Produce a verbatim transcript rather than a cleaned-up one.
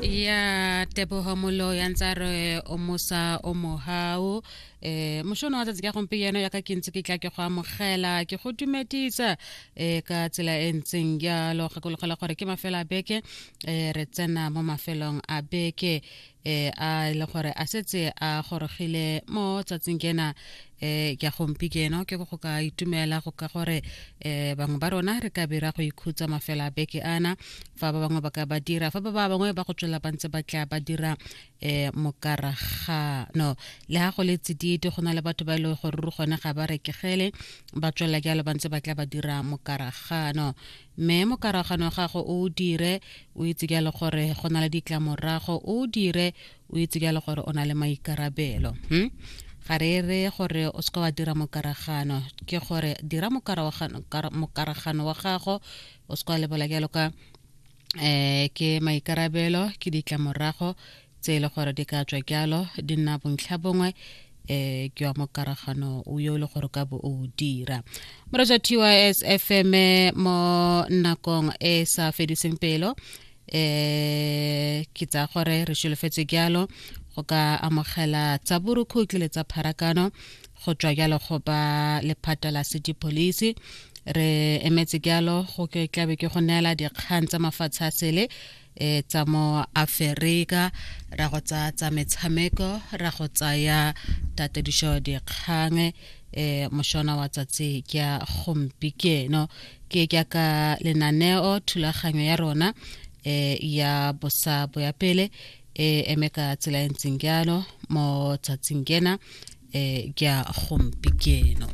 Ya Tebogo Molo ya ntse a re o mosa o mohau. um mošono wa tsatsi ka gompieno yaka ke ntse ke tla ke go amogela, ke go dumedisa um ka tsela e ntseng jalo. Gakologela gore ke mafelo a beke, um re tsena mo mafelong a beke um a e le gore a setse a gorogile mo tsatsing kena um ke a gompieno. Ke go ka itumela go ka gore um bangwe ba rona re ka bira go ikhutsa mafelo a beke ana, fa ba bangwe ba ka ba dira, fa ba ba bangwe ba go tswela ba ntse ba tla ba dira um mokaragano. Le ha go le tsididi, go na le batho ba e leng gore ruri gone ga ba rekegele, ba tswelela jalo ba ntse ba tla ba dira mokaragano. Mme mokaragano gago o dire o itse jalo gore go na le ditlamorago, o dire o itse jalo gore o na le maikarabelo. hmm? Ga re re gore o seka wa dira mokaragano, ke gore dira mokaragano wa gago o seka wa lebala jalo ka um ke maikarabelo, ke ditlamorago tse e le gore di ka tswa jalo di nna bontlha bongwe um ke wa mokaragano o yo e le gore ka bo o dira. Moreetsi T Y S F M mo nakong e sa fediseng pelo, um ke tsaya gore re solofetse jalo go ka amogela tsa borukhutlhi le tsa pharakano go tswa jalo go ba lephata la city police. Re emetse jalo go ke tlabe ke go neela dikgang tsa mafatshe a sele e tsa mo Aforika, ra go tsaya tsa metshameko, ra go tsaya tatedišo dikgang e mošona wa tsatsi ke a gompieno. Ke jaaka lenaneo thulaganyo ya rona e ya bosa bo ya pele e eme ka tsela e ntseng jalo mo tsatsing kena e ke a gompieno.